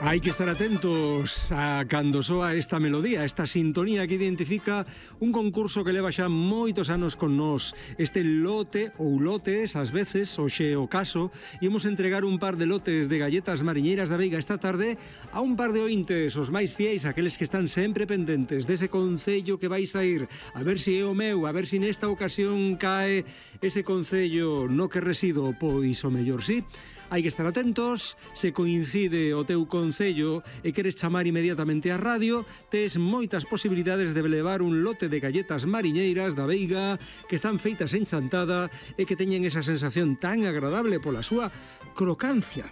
Hai que estar atentos a cando soa esta melodía, esta sintonía que identifica un concurso que leva xa moitos anos con nós. Este lote ou lotes, ás veces, hoxe o caso, imos entregar un par de lotes de galletas mariñeiras da Veiga esta tarde a un par de ointes, os máis fiéis, aqueles que están sempre pendentes dese concello que vais a ir. A ver se é o meu, a ver se nesta ocasión cae ese concello no que resido, pois o mellor sí. Hai que estar atentos, se coincide o teu concello e queres chamar inmediatamente á radio, tes moitas posibilidades de levar un lote de galletas mariñeiras da Veiga que están feitas en Chantada e que teñen esa sensación tan agradable pola súa crocancia.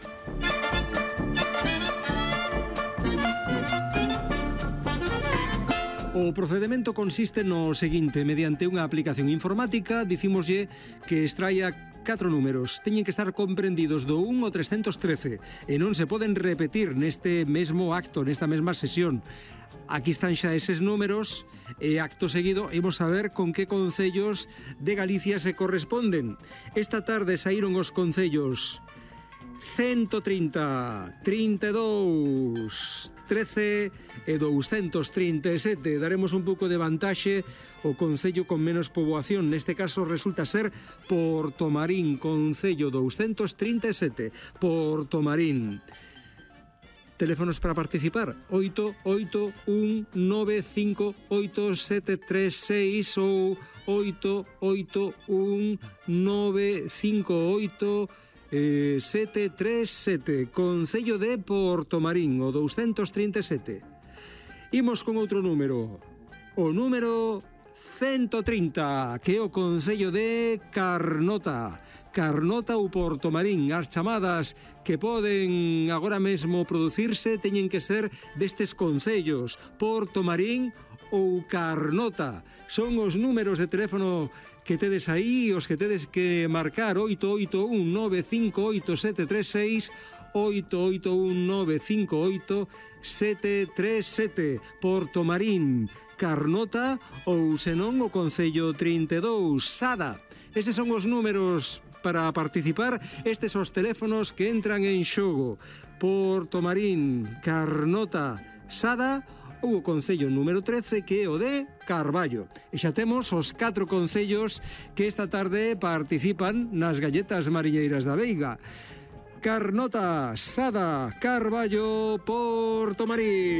O procedimento consiste no seguinte: mediante unha aplicación informática, dicímoslle que extraia 4 números. Teñen que estar comprendidos do 1 ao 313 e non se poden repetir neste mesmo acto, nesta mesma sesión. Aquí están xa eses números e acto seguido imos a ver con que concellos de Galicia se corresponden. Esta tarde saíron os concellos 130, 32, 13 e 237. Daremos un pouco de vantaxe ao concello con menos poboación. Neste caso resulta ser Portomarín, concello 237, Portomarín. Teléfonos para participar: 881958736 ou 881958737, concello de Portomarín, o 237. Imos con outro número, o número 130, que é o concello de Carnota. Carnota ou Portomarín. As chamadas que poden agora mesmo producirse teñen que ser destes concellos, Portomarín ou Carnota. Son os números de teléfono que tedes aí, os que tedes que marcar: 881958736, 881958737, Portomarín, Carnota ou senón o concello 32, Sada. Eses son os números para participar, estes os teléfonos que entran en xogo: Portomarín, Carnota, Sada ou o concello número 13, que é o de Carballo. E xa temos os 4 concellos que esta tarde participan nas galletas mariñeiras da Veiga: Carnota, Sada, Carballo, Portomarín.